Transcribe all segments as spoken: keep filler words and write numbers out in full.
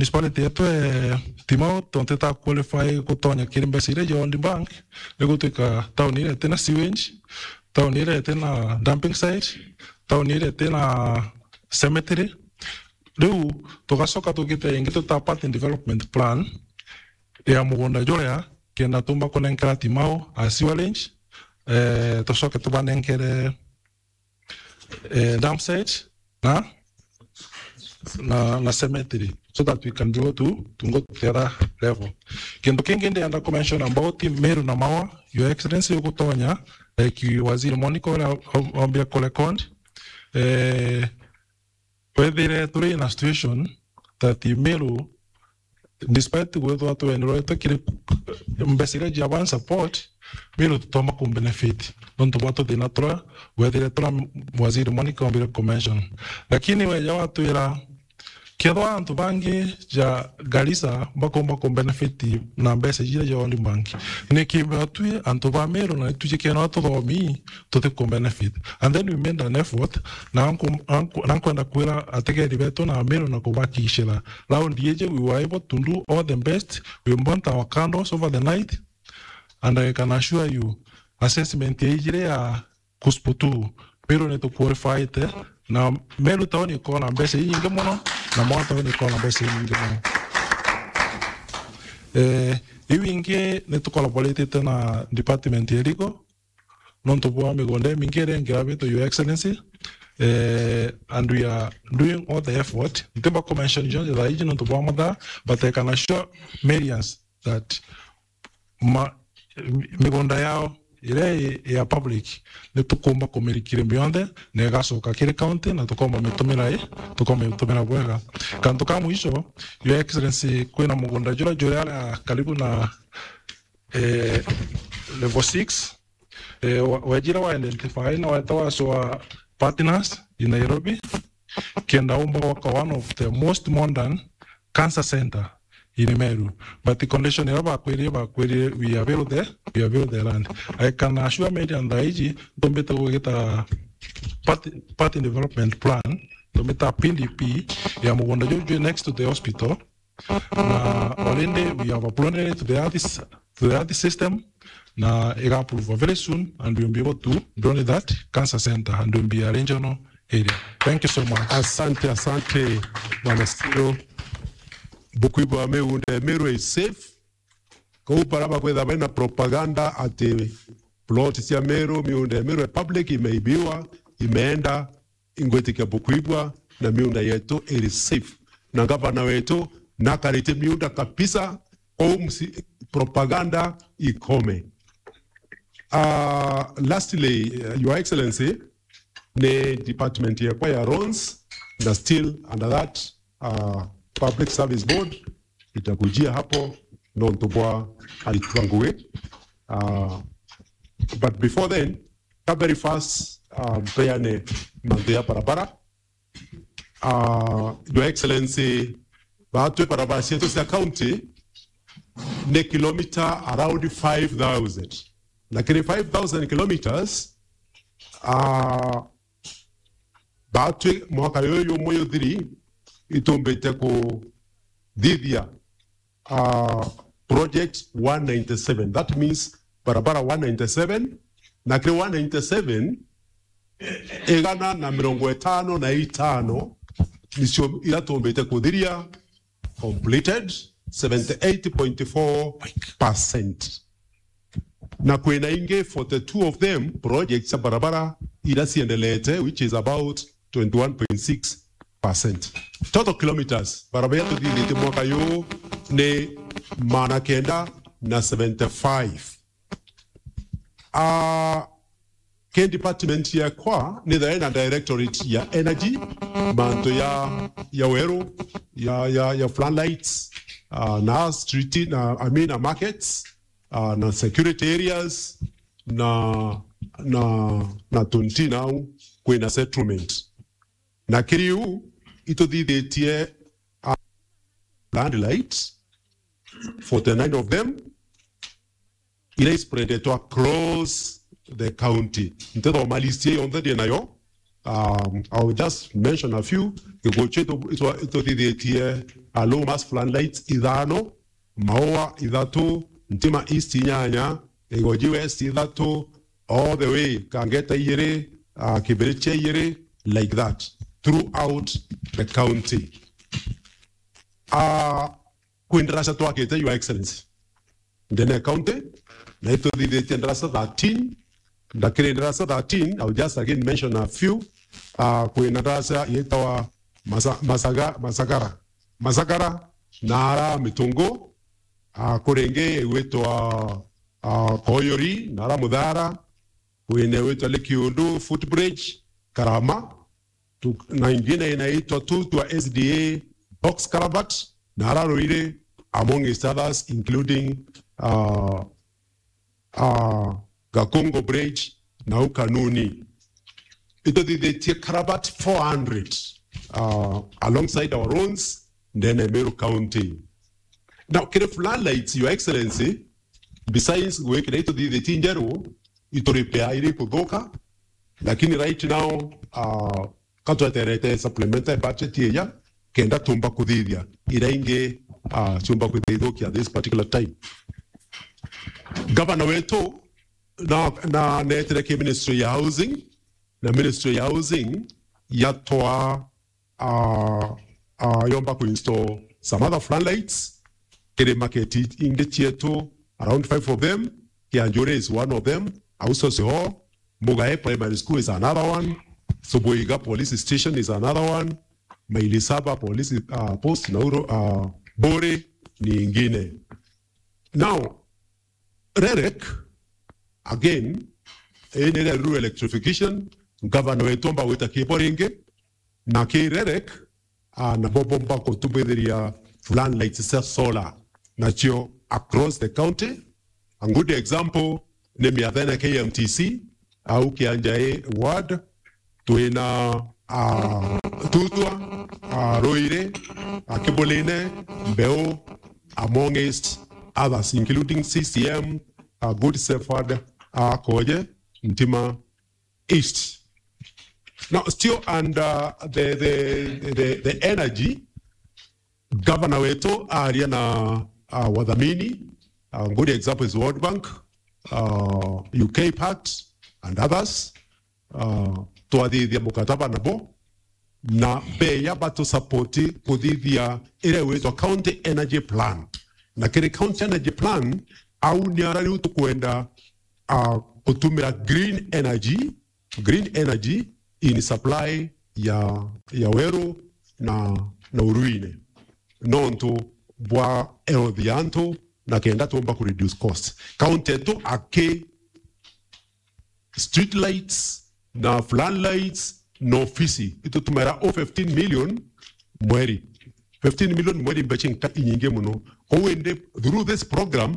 municipality yetu e Timau, tontu ita qualify gutonya kiri mbeca iria cia World Bank, ni gutwika tauni iria itina sewage, tauni iria itina dumping site, tauni iria itina cemetery. Riu tugacoka tukite ingi tuta part in development plan ya mugunda juria, kenda tumba kunenkera Timau a sewerage, eh, tucoke tubanenkere, eh, dump site na, na, na cemetery, so that we can be able to, to go to the other level. Kintu kingi ndienda ku mention about Meru na Maua, Your Excellency, ugutonya, like Waziri Monica uria ombia ku record, eh, wethire turi in a situation that Meru, despite gwithwa twenderetwe kiri mbeca iria cia one support, Meru tutomba ku benefit nontu bwa tuthina turia wethire turia Waziri Monica ombire ku mention. Lakini weja watwira, kethwa antu bangi ja Garissa bakomba ku benefit na mbeca iria cia World Bank, niki mbeotwi antu ba Meru na itwiji kena tuthomi tuti ku benefit? And then we made an effort, na nku-, na nku-, na nkwenda kwira ategeri betu na Meru na kubakishira round iji, we were able to do all the best. We burnt our candles over the night, and I can assure you, assessment ya ijire ya Kusputu, Meru ni tuqualifiete, na Meru town ikona mbeca inyingi muno, na Maua town ikona mbeca inyingi muno. Eh, iu ingi ni tucollaboratete na department ya legal, nontu bwa migunda imingi iria ingi yabitwe, Your Excellency, eh, and we are doing all the effort. Ntimba ku mention jonthe thaa iji nontu bwa mathaa, but I can assure Marians that ma-, migunda yao iria i ya public ni tukumba kumirikiria mionthe na igacoka kiri county na tukomba mitumira i, tukomba mitumira bwega. Kantu ka mwisho, Your Excellency, kwina mugunda juria juri aria karibu na eh, level six, eh, wa-, wejire wa identify na weta wa show partners in Nairobi, kenda umba gwaka one of the most modern cancer center in Meru. But the condition iria bakwirie, bakwirie, we avail the, we avail the land. I can assure Marians thaa iji, ntumbite gwita part, part in development plan, ntumbita P D P ya mugunda juju next to the hospital, na already we have uploaded it to the earth, to the earth system, na iga approve very soon, and we'll be able to donate that cancer center, and we'll be a regional area. Thank you so much. Asante, asante, Bwana Siro. Bukwigua miunda ya Meru is safe. Kou bara bakwitha baina propaganda ati plot cia Meru, miunda ya Meru ya public imeibiwa, imeenda, ingwitikia bukwigua, na miunda yetu iri safe. Na gavana wetu nakarite miunda kabisa, kou msi-, propaganda ikome. Uh, lastly, uh, Your Excellency, ni department yakwa ya roads, na still under that, uh, Public Service Board, itakujia hapo, nontu bwa aritwa ngugi. Uh, but before then, ka very fast, uh, mpeane mantu ya barabara. Uh, Your Excellency, batwi barabara cietu cia county ni kilometer around five thousand. Na kiri five thousand kilometers, uh, batwi mwaka yuyu jumwe juthiri, itumbite kuthithia, uh, project one ninety-seven. That means barabara one ninety-seven, na kiri one ninety-seven, igana na mirongo itano na itano nicio iria tumbite kuthiria, completed seventy-eight point four percent. Na kwina ingi forty-two of them projects cia barabara iria ciendelete, which is about twenty-one point six percent. Total kilometers barabara iria tuthithitie mwaka juu ni magana kenda na seventy-five. Ah, ki department yakwa ni thai na directorate ya energy, mantu ya, ya weru, ya, ya, ya floodlights, ah, na street, na, I mean, na markets, ah, na security areas, na, na, na tunti nau kwina settlement. Na kiri u ituthithitie, ah, landlight, forty-nine of them, iria ispreadetwe across the county. Ntithoma list iyo yonthe ndi nayo, Um, I will just mention a few. Gikuyu cietu itwa-, ituthithitie, uh, low mast floodlights ithano, Maua ithatu, Ntima East inyanya, Igoji West ithatu, all the way, Kangeta ijiri, uh, Kibirichia ijiri, like that, throughout the county. Uh, kwi ndaraca twakite, Your Excellency, ndene ya county, na ituthithitie ndaraca thirteen, na kiri ndaraca thirteen, I'll just again mention a few. Uh, kwina ndaraca yitawa Masa-, Masaga-, Masagara. Masagara, na ara Mitungu, uh, kuri ingi igwitwa, uh, Koyori, na ara Muthara, kwina igwitwa Lake Kiundu, Footbridge, Karama, tu-, na ingine inaitwa Tutwa S D A box culvert, na ara Ruiri, amongst others, including, uh, uh, Gakongo Bridge, na u Kanuni. Ituthithitie culvert four hundred, uh, alongside our roads, ndene ya Meru County. Now, kiri floodlights, Your Excellency, besides gwikira ituthithitie njeru, ituripea iri kuthuka, lakini right now, uh, ka tweterete supplementary budget ija, kenda tumba kuthithia ira ingi, uh, ciumba kwithithukia this particular time. Governor wetu na, na netire ki Ministry ya Housing, na Ministry ya Housing yatwa, uh, uh, yomba ku install some other floodlights kiri market ingi cietu, around five of them. Kianjuri is one of them. Ausosi ho, Mugae Primary School is another one. Subuiga Police Station is another one. Maili Saba Police, uh, Post, Nauro, uh, Bore ni ingine. Now, REREC, again, ii ni rural electrification, governor wetu omba gwita kibo ringi, na ki REREC, ah, nabo bomba kutumithiria floodlights cia solar, nacio across the county. A good example ni miathene K M T C, au Kianjai ward, twina, ah, Tutwa, ah, Ruiri, ah, Kibuline, Mbeu, amongst others, including C C M, ah, Good Shepherd, ah, Koje, Ntima East. Now, still under the, the, the, the energy, governor wetu aria na, uh, wathamini, uh, good example is World Bank, uh, U K Pact and others. Uh, twathithia mukataba nabo, na beya batu support kuthithia iria igwitwa County Energy Plan. Na kiri County Energy Plan, au ni ara riu tukwenda, uh, gutumira green energy, green energy in supply ya, ya weru na, na uruine, nontu bwa health ya antu, na kenda tumba ku reduce cost. County yetu aki street lights na flood lights na ofisi, itutumira o fifteen million mweri. Fifteen million mweri, mbeca inka-, inyingi muno. Kou indi, through this program,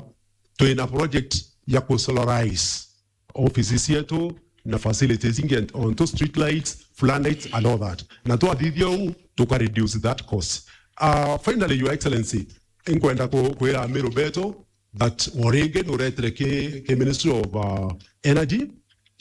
twina project ya ku solarize offices cietu na facilities ingi, onto street lights, flood lights and all that. Na twathithia uu, tuka reduce that cost. Uh, finally, Your Excellency, inkwenda ku-, kwira Amiru betu that o ringi nuretire ki, ki Ministry of, uh, Energy,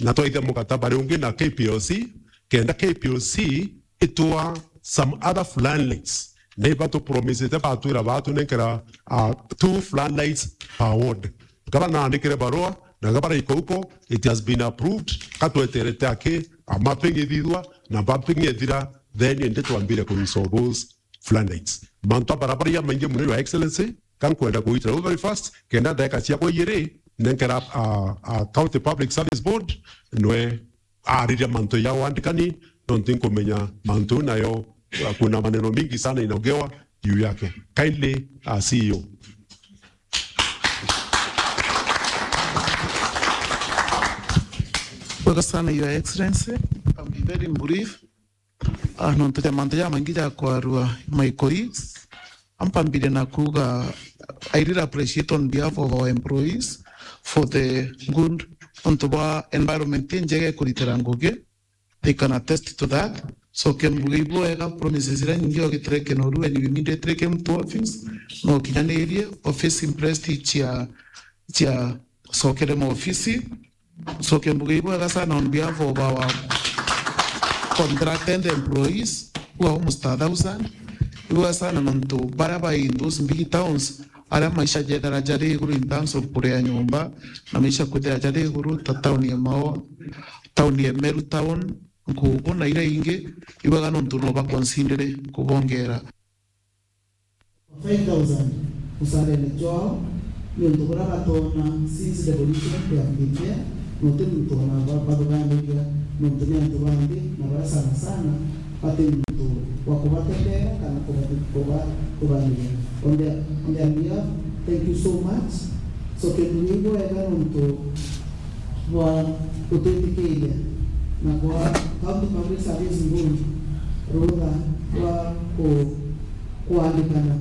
na twaithia mukataba riu ungi na K P L C, kenda K P L C itwa some other floodlights. Na iba tu promisete, batwira batunenkera, uh, two floodlights per ward. Gaba naandikire barua, na gaba raiko uko, it has been approved, ka tweterete aki, a mapping ithithwa, na mapping ethira, then indi twambire ku install those floodlights. Mantu a barabara jamaingi muno, Your Excellency, ka nkwenda kugitira uu very fast, kenda ndagika ciakwa ijiri, nenkera, uh, uh, County Public Service Board, nwe ariria mantu ja wandikani, nontu nkumenya mantu nayo, uh, kuna maneno mingi sana inaongewa juu yake. Kindly, uh, C E O. Wega sana, Your Excellency. I'll be very brief. Ah, nontu ja mantu jamaingi ja kwarua, my colleagues, ampambire na kuuga, I really appreciate on behalf of our employees for the good, ontu bwa environment injega ikuritira ngugi, they can attest to that. So, kembuge ibwega, promises iria nyingi ogitire Kinoru, and we immediately came to office, no kinyanirie, office impressed chia, chia sokere maofisi. Ncoke mbuge ibwega sana on behalf of our, contracted employees, who are almost a thousand. Ibuga sana nontu baria bai in those big towns, aria maisha jethera jari iguru in terms of kuria nyomba, na maisha kwithira jari iguru, ta tauni ya Maua, tauni ya Meru town, Nkugu na iria ingi, ibaga nontu no baconsidere kubongera. Five thousand mucarene jwao, niuntu buria batona since devolution yambitie, na uti muntu ona ba-, bathuganiria, niuntu ni antu ba nthi na baria sana sana bati muntu wa kubatetera kana kuba-, kubathuganiria. On their, on their behalf, thank you so much. So, kintu ni bwega nontu bwa gutwitikiria na kwa County Public Service Board rutha rwa ku-, kuandikana.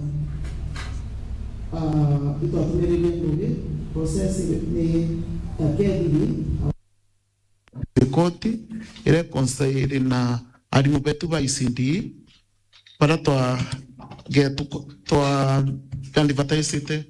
Ah, itwatumiririe ngugi, process ni ta kethiri. Riboti irekonsairi na arimu betu ba E C D, baria twa-, getu-, twa-, twa-, advertisite